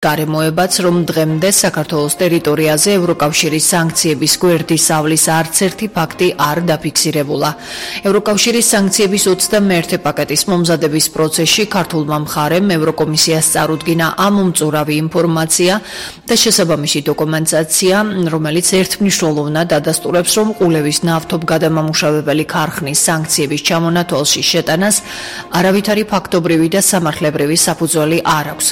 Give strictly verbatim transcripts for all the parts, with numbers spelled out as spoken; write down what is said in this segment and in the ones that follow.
გარემოებაც, რომ დღემდე საქართველოს ტერიტორიაზე ევროკავშირის სანქციების გვერდის ავლის არც ერთი ფაქტი არ დაფიქსირებულა. ევროკავშირის სანქციების ოცდამეერთე პაკეტის მომზადების პროცესში ქართულმა მხარემ ევროკომისიას წარუდგინა ამომწურავი ინფორმაცია და შესაბამისი დოკუმენტაცია, რომელიც ერთმნიშვნელოვნად ადასტურებს, რომ ყულევის ნავთობგადამამუშავებელი ქარხნის სანქციების ჩამონათვალში შეტანას არავითარი ფაქტობრივი და სამართლებრივი საფუძველი არ აქვს.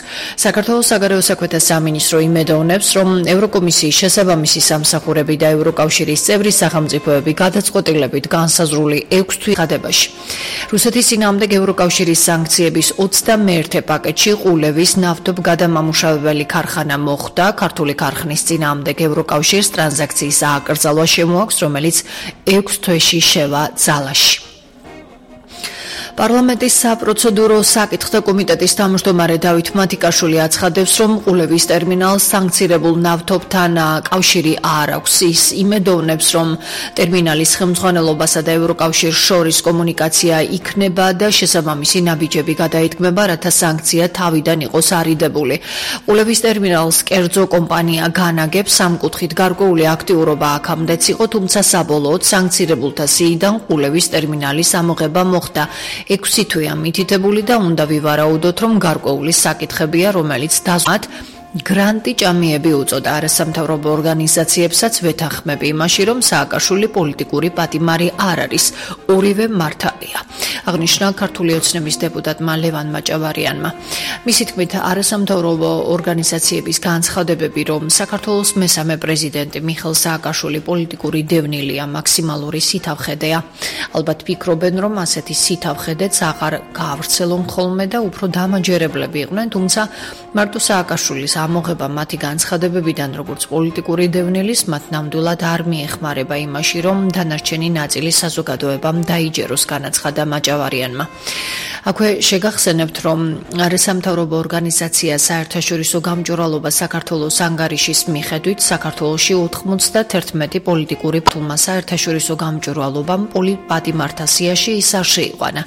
საქართველოს საგარეო საქმეთა სამინისტრო იმედოვნებს, რომ ევროკომისიის შესაბამისი სამსახურები და ევროკავშირის წევრი სახელმწიფოები გადაწყვეტილებით განსაზღვრული ექვს თვის ხადებაში. რუსეთის წინააღმდეგ ევროკავშირის სანქციების ოცდამეერთე პაკეტში ყულევის ნავთობგადამამუშავებელი ქარხანა მოხვდა. ქართული ქარხნის წინააღმდეგ ევროკავშირს ტრანზაქციის ააკრძალვა შემოაქვს, რომელიც ექვს თვეში შევა ძალაში. პარლამენტის საპროცედურო საკითხთა კომიტეტის თავმჯდომარე დავით მათიკაშვილი აცხადებს, რომ ყულევის ტერმინალს სანქცირებულ ნავთობთან კავშირი არ აქვს. ის იმედოვნებს, რომ ტერმინალის ხელმძღვანელობასა და ევროკავშირს შორის კომუნიკაცია იქნება და შესაბამისი ნაბიჯები გადაითქმება, რათა სანქცია თავიდან იყოს არიდებული. ყულევის ტერმინალს კერძო კომპანია განაგებს, ამ კუთხით გარკვეული აქტიურობა აქამდეც იყო, თუმცა საბოლოოდ სანქცირებულთა სიიდან ყულევის ტერმინალის ამოღება მოხდა. ექვსი თვეა მითითებული და უნდა ვივარაუდოთ, რომ გარკვეული საკითხებია, რომელიც დაზვათ გრანტი ჭამიები უწოდა. არასამთავრობო ორგანიზაციებსაც ვეთანხმები იმაში, რომ სააკაშვილი პოლიტიკური პატიმარი არ არის, ორივე მართალია. აღნიშნა ქართული ოცნების დეპუტატმა ლევან მაჭავარიანმა. მისი თქმით, არასამთავრობო ორგანიზაციების განცხადებები, რომ საქართველოს მესამე პრეზიდენტი მიხეილ სააკაშვილი პოლიტიკური დევნილია, მაქსიმალური სითავხედეა. ალბათ ფიქრობენ, რომ ასეთი სითავხედეც აღარ გაავრცელონ ხოლმე და უფრო დამაჯერებლები იყვნენ, თუმცა მარტო სააკაშვილის ამოღება მათი განცხადებებიდან, როგორც პოლიტიკური დევნილის, მათ ნამდვილად არ მიეხმარება იმაში, რომ დანარჩენი ნაწილი საზოგადოებამ დაიჯეროს, განაცხადა მაჭავარიანმა. აქვე შეგახსენებთ, რომ არასამთავრობო ორგანიზაცია საერთაშორისო გამჭვირვალობა საქართველოს ანგარიშის მიხედვით საქართველოში ოთხმოცდაერთი პოლიტიკური ფულმა საერთაშორისო გამჭვირვალობამ პოლიტპატიმართა სიაში ის არ შეიყვანა.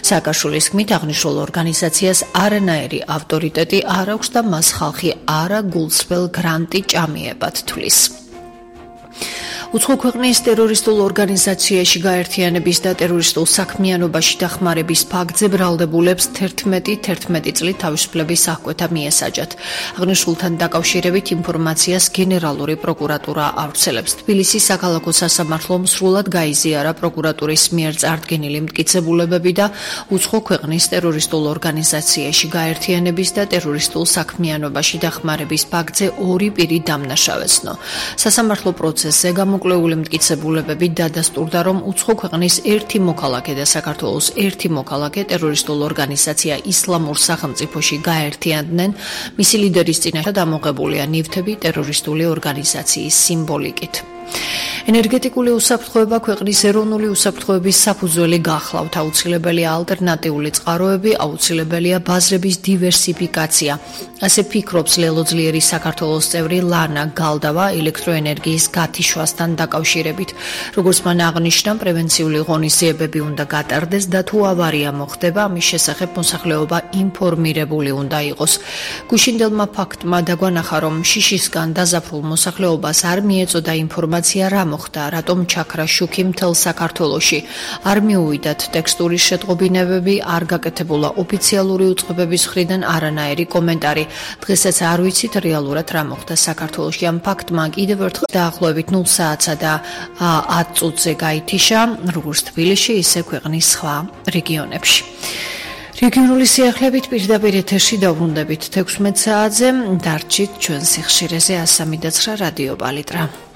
სააკაშვილის თქმით, აღნიშნულ ორგანიზაციას არანაირი ავტორიტეტი არ აქვს და მას ხალხი არა გულსრბელ გრანტი ჭამიებად თვლის. უცხო ქვეყნის ტერორისტულ ორგანიზაციაში გაერთიანების და ტერორისტულ საქმიანობაში დახმარების ფაქტზე ბრალდებულებს თერთმეტი თერთმეტი წლით თავისუფლების აღკვეთა მიესაჯათ. აღნიშნულთან დაკავშირებით ინფორმაციას გენერალური პროკურატურა ავრცელებს. თბილისის საქალაქო სასამართლომ სრულად გაიზიარა პროკურატურის მიერ წარდგენილი მტკიცებულებები და უცხო ქვეყნის ტერორისტულ ორგანიზაციაში გაერთიანების და ტერორისტულ საქმიანობაში დახმარების ფაქტზე ორი პირი დამნაშავეცნო. სასამართლო პროცესზე გამოკვლეული მტკიცებულებები დადასტურდა, რომ უცხო ქვეყნის ერთი მოქალაქე და საქართველოს ერთი მოქალაქე ტერორისტულ ორგანიზაცია ისლამურ სახელმწიფოში გაერთიანდნენ. მისი ლიდერის წინაშე დამოღებულია ნივთები ტერორისტული ორგანიზაციის სიმბოლიკით. ენერგეტიკული უსაფრთხოება ქვეყნის ეროვნული უსაფრთხოების საფუძველი გახლავთ. აუცილებელია ალტერნატიული წყაროები, აუცილებელია ბაზრების დივერსიფიკაცია. ასე ფიქრობს ლელოძლიერი საქართველოს წევრი ლანა გალდავა ელექტროენერგიის გათიშვასთან დაკავშირებით. როგორც მან აღნიშნა, პრევენციული ღონისძიებები უნდა გატარდეს და თუ ავარია მოხდება, ამის შესახებ მოსახლეობა ინფორმირებული უნდა იყოს. გუშინდელმა ფაქტმა დაგვანახა, რომ შიშისგან დაზაფრულ მოსახლეობას არ მიეწოდა ინფორმაცია რა მოხდა, რატომ ჩაქრა შუქი მთელ საქართველოში. არ მიუვიდათ ტექსტურის შეტყობინებები, არ გაკეთებულა ოფიციალური უწყებების მხრიდან არანაირი კომენტარი. დღესაც არ ვიცით რეალურად რა მოხდა საქართველოში. ამ ფაქტმა კიდევ ერთხელ დაახლოებით ნულ საათსა და ათ წუთზე გაითიშა, როგორც თბილისში, ისე ქვეყნის სხვა რეგიონებში. რეგიონული სიახლეებით პირდაპირ ეთერში დავბრუნდებით თექვსმეტ საათზე. დარჩით ჩვენ სიხშირეზე. ასამი და ცხრა რადიო პალიტრა.